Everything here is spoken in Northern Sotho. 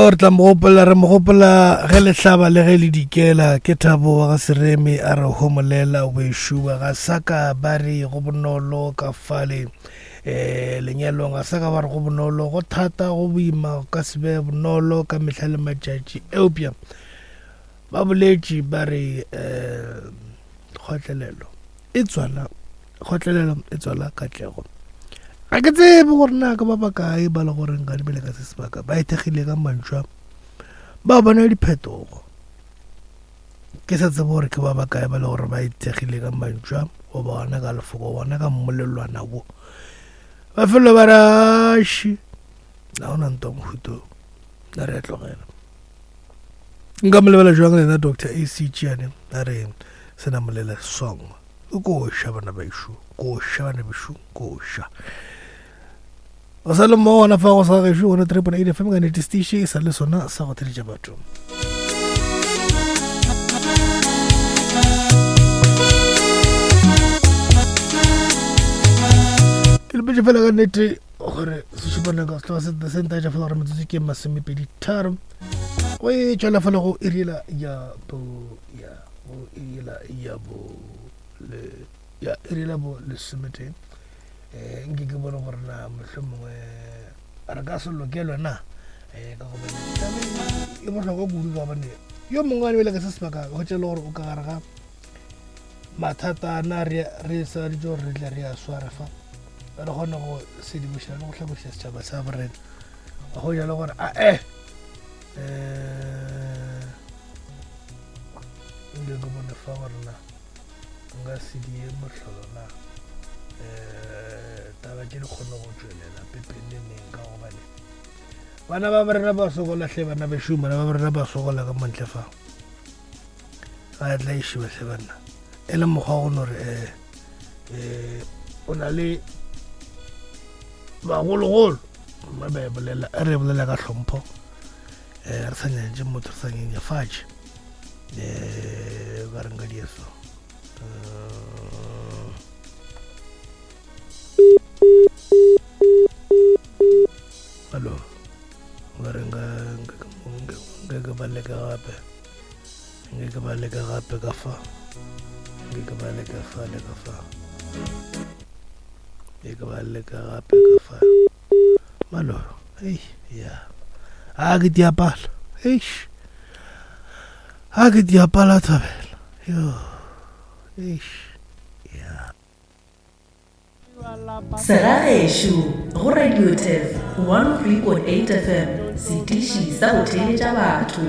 Re tla mo gopola, re mo gopola ge le hlaba le ge le dikela. Ke Thabo wa ga Sereme a re homolela wešo wa ga saka ba re go bonolo ka fale um lenyalong ga saka ba re go bonolo go thata go boima go ka se be bonolo ka mehla le matšatši eupša ba boletše ba re um kgotlelelo e tswala kgotlelelo e tswala katlego ga ke tsebe gore na ka ba bakae ba le goreng ga dibele ka se sebaka ba ithekgile ka mantšu a ba bona diphetogo ke sa tsebe gore ke ba bakae ba le gore ba ithekgile ka mantšu a goba gona ka lefoko gona ka mmolelwana wo ba felelo ba raši ga ona ntwa mohuto na re a tlogela nka mo lebela jwang lena dr ac tšiane a re senamolela song koša bana bešo koša bana bešo koša o sa le mo gona fa go sa gešo gona 3.8 fm ka nete station e sa le sona sa go theletša batho ke lepetše fela ka nnete gore sešupaneng ka setloga se ntaetša fela gore metsotso ke masomepedi tharo go e tšwela fela go iriela ya bo ya go iriela ya bo le ya iriela bo lesometee um nke ke bone gore na mohlho mongwe re ka se lokelwe na um ka gobane e bohlokwa kudu ka gobane yo mongwe a lebele ka se sebaka hwetša le gore o ka gare ga mathata na re re sa ditse gore re tle re a sware fa re kgone go sedimoša le go hlaboša setšhaba sa borena go jalo gore a e um nke ke bone fa gore na nka se die mohlolo na um taba tše di kgone go tšwelela pepeneneng ka gobane bana ba rena ba sokola hle bana bešo bana ba rena ba sokola ka montle fa ba tla išiwa hle banna e le mokgwa go no re um o na le bagologolo ba ba e bolela re e bolela ka hlompho um re sa nyantše motho re sa nyenyefatše um ba reng ka dieso hallo ba reng ka nke ba leka gape nke ke ba leka gape ka fa nke ke ba leka fa le ka fa nke ke ba leka gape ka fa malo ei ya a ke diapala eish a ke diapala thabela yo eish ya Segagešo go Radio Tef 103.8 FM, setiši sa go theeletša batho.